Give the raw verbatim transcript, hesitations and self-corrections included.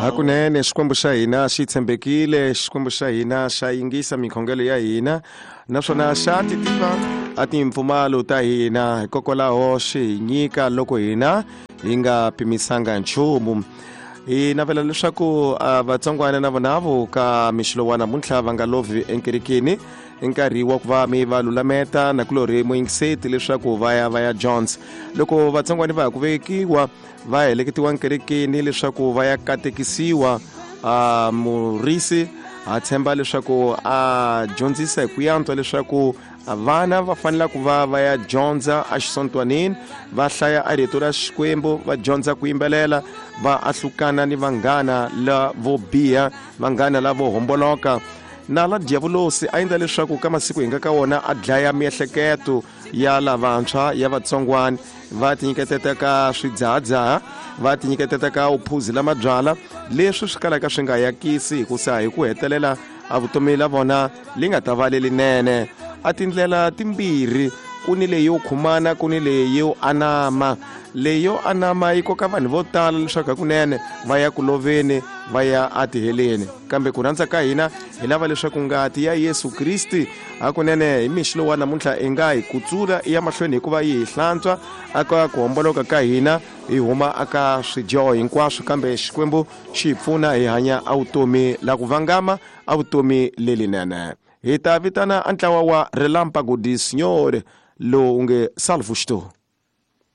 Hakunene Xikwembu xa hina xi tshembekile, Xikwembu xa hina xa yingisa mikhongelo ya hina, naswona xa ti tiva a timpfumalo ta hina, hikokwalaho xi hi nyika loko hina hi nga pimisanga nchumu. Hi navela leswaku vatsongwana na vona vo ka mixilo wa namuntlha va nga lovhi enkerekeni i nkarhi wa ku va mi va lulameta nakulorhi muyingiseti leswaku va ya va ya Jones. Loko vatsongwana va ha ku vekiwa va heleketiwa nkerekeni leswaku va ya katekisiwa, a murisi a tshemba leswaku a dyondzisa hi ku yantswa leswaku vana va fanele ku va va ya dyondza exisontwanini, va hlaya a rito ra Xikwembu, va dyondza ku yimbelela, va ahlukana ni vanghana lavo biha, vanghana lavo homboloka. Na la diavulosi a endla leswaku ka masiku hi nga ka wona a dlaya miehleketo ya lavantshwa ya vatsongwana, va tinyiketeta ka swidzahadzaha, va tinyiketeta ka uphuzi la mabyala, leswi swi kalaka swi nga yakisi hikusa hi ku hetelela a vutomi la vona li nga ta va lelinene. A tindlela timbirhi, ku ni leyi yo khumana, ku ni leyi yo anama. Leyi yo anama yi koka vanhu vo tala leswaku hakunene va ya ku loveni, va ya atiheleni. Kambe ku rhandza ka hina hi lava leswaku ngati ya Yesu Kriste hakunene hi mixo lowu wa namuntlha i nga hi kutsula i ya mahlweni hikuva yi hi hlantswa aka ku homboloka ka hina, hi huma aka swidyoho hinkwaswo, kambe Xikwembu xi hi pfuna hi hanya a vutomi la ku vangama, a vutomi lelinene. Hi ta vitana a ntlawa wa Relâmpago de Senhor lowu nge Salvo Estou.